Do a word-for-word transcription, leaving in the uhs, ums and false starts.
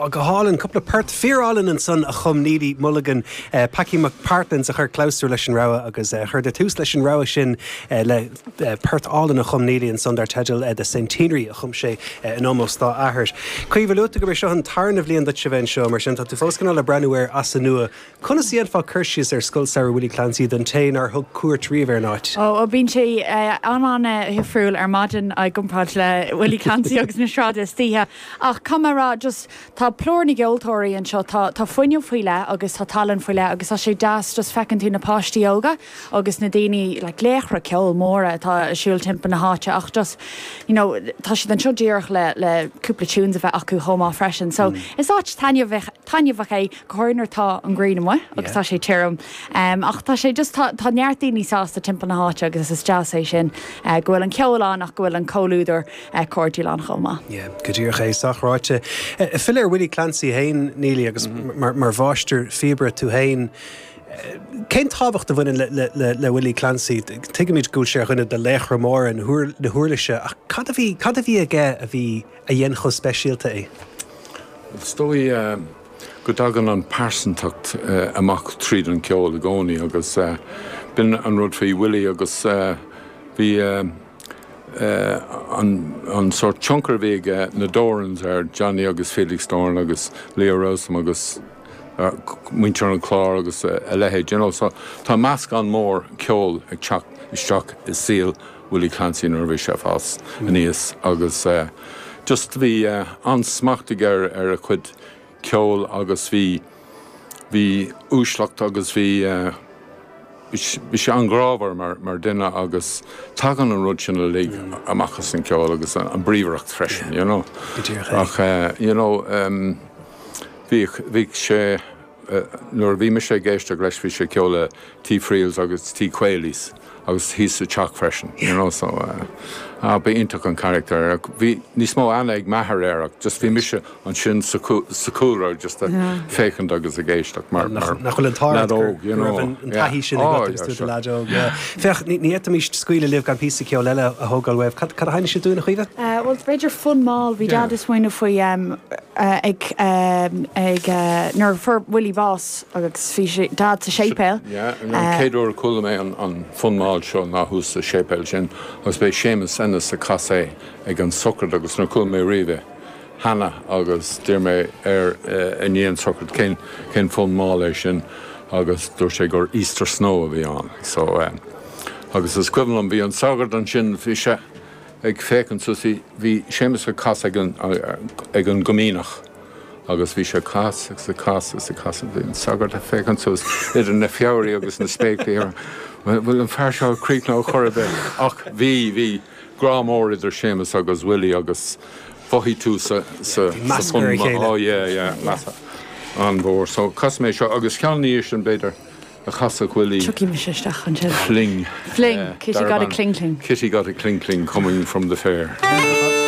Go hálainn cúpla port fíorálainn ansan a chum Neely Mulligan uh, Packy McPartlands a chuir clabhsúr leis an rogha agus uh, chuir tús leis an rogha sin uh, le uh, port álainn a chum Neely ansan dar teideal uh, the Centenary a chum sé uh, in ómós dá athair. Caoimhe luaigh tú go seo an tarna bhliain duit bheith anseo mar sin tá tú fós le breathnú air as an nua. Conas a dhéanfá cur síos ar Scoil Samhraidh Willie Clancy don té nár thug cuairt riamh ar an áit. Ó bíonn sé an-an-difriúil ar maidin i gcomparáid le Willie Clancy agus na sráideanna istoíche ach camará just tá plúr na gceoltóirí anseo tá tá fuinneamh faoi leith agus tá tallann faoi leith agus tá sé deas just feiceann tú na páistí óga agus na daoine le laochra ceoil móra atá ag siúl timpeall na háite ach just you know, tá siad anseo díreach le le cúpla tunes a bheith acu chomh maith freisin. So mm. is áit taitneamhach é go háirithe tá an ghrian amuigh agus tá sé tirim. Um, ach tá sé just tá, tá neart daoine sásta timpeall na háite agus is deas é sin uh, go bhfuil an ceol ann ach go bhfuil an comhluadar uh, cairdiúil ann chomh maith. Yeah, go díreach é sách ráite. Filleadh ar Willie Clancy féin Neely agus mm -hmm. mar, mar mháistir phíobaire tú féin. Cén tábhacht a bhaineann le, le, le, le Willie Clancy, Tuigimid go bhfuil sé ar dhuine de laochra móra na huirlise ach cad a bhí cad a bhí aige a bhí a dhein chomh speisialta é. Is dóigh uh, go dtagann an pearsantacht uh, amach tríd an ceol i gcónaí agus uh, b'in an rud faoi Willie agus uh, bhí uh, uh, an, an sort tionchar bhí uh, na Dorans ar Johnny agus Felix Doran agus Leo Rowsome agus uh, muintir an Chláir agus uh, a leithéid you know, so tá meascán mór ceol ag teacht isteach i saol Willie Clancy nuair bhí sé fás aníos agus uh, just bhí uh, an-smacht aige ar ar a chuid ceol agus bhí bhí uaisleacht agus bhí uh, bhí sé an-ghrámhar mar, mar duine agus tagann an rud sin uilig amach as an ceol agus an, an bríomhaireacht freisin, you know. Ach uh, you know, um, bhí bhí sé uh, nuair bhí mise ag éisteacht leis bhí sé ceol le Tí Friels agus Tí Quailys agus thíos sa teach freisin, you know, so uh, ah, ba iontach an character bhí níos mó aithne ag m'athair air just bhí mise ansin sa cúlra just a féachaint agus ag éisteacht mar nach bhfuil an t-ádh you know an taithí sin leaid óg. Féach ní fhéadfaimis scaoileadh libh gan píosa ceoil eile a thógáil uaibh cad a sheinnfidh sibh dúinn a Chaoimhe? Well b'fhéidir fonn mall bhí Dad ag smaoineamh faoi ag ag nuair fuair Willie bás agus bhí sé Dad sa séipéal. Chéad uair a chuala mé an fonn mall seo ná thuas sa séipéal sin agus b'é Séamus Ennis a chas é ag an sochraid agus níor chuala mé riamh cheana agus d'iarr mé air i ndiaidh an sochraid cén cén fonn mall é sin agus dúirt sé gur Easter Snow a bhí ann so um, agus is cuimhin liom bhí an sagart ansin bhí sé ag féachaint suas bhí Séamus ag casadh ag an ag an gcoimíneach agus bhí sé cas agus a cas agus a cas bhí an sagart ag féachaint suas idir na feoirí agus na spéaclaí bhfuil an fear seo críochnaithe chor ar bith ach bhí bhí grá mór idir Séamus agus Willie agus mhothaigh tú sa sa an-mhór so chas mé seo agus ceann sin b'fhéidir a chasfadh Willie Tiocfaidh mise isteach ansin. Fling Fling Kitty got a cling cling. Kitty got a cling cling coming from the fair.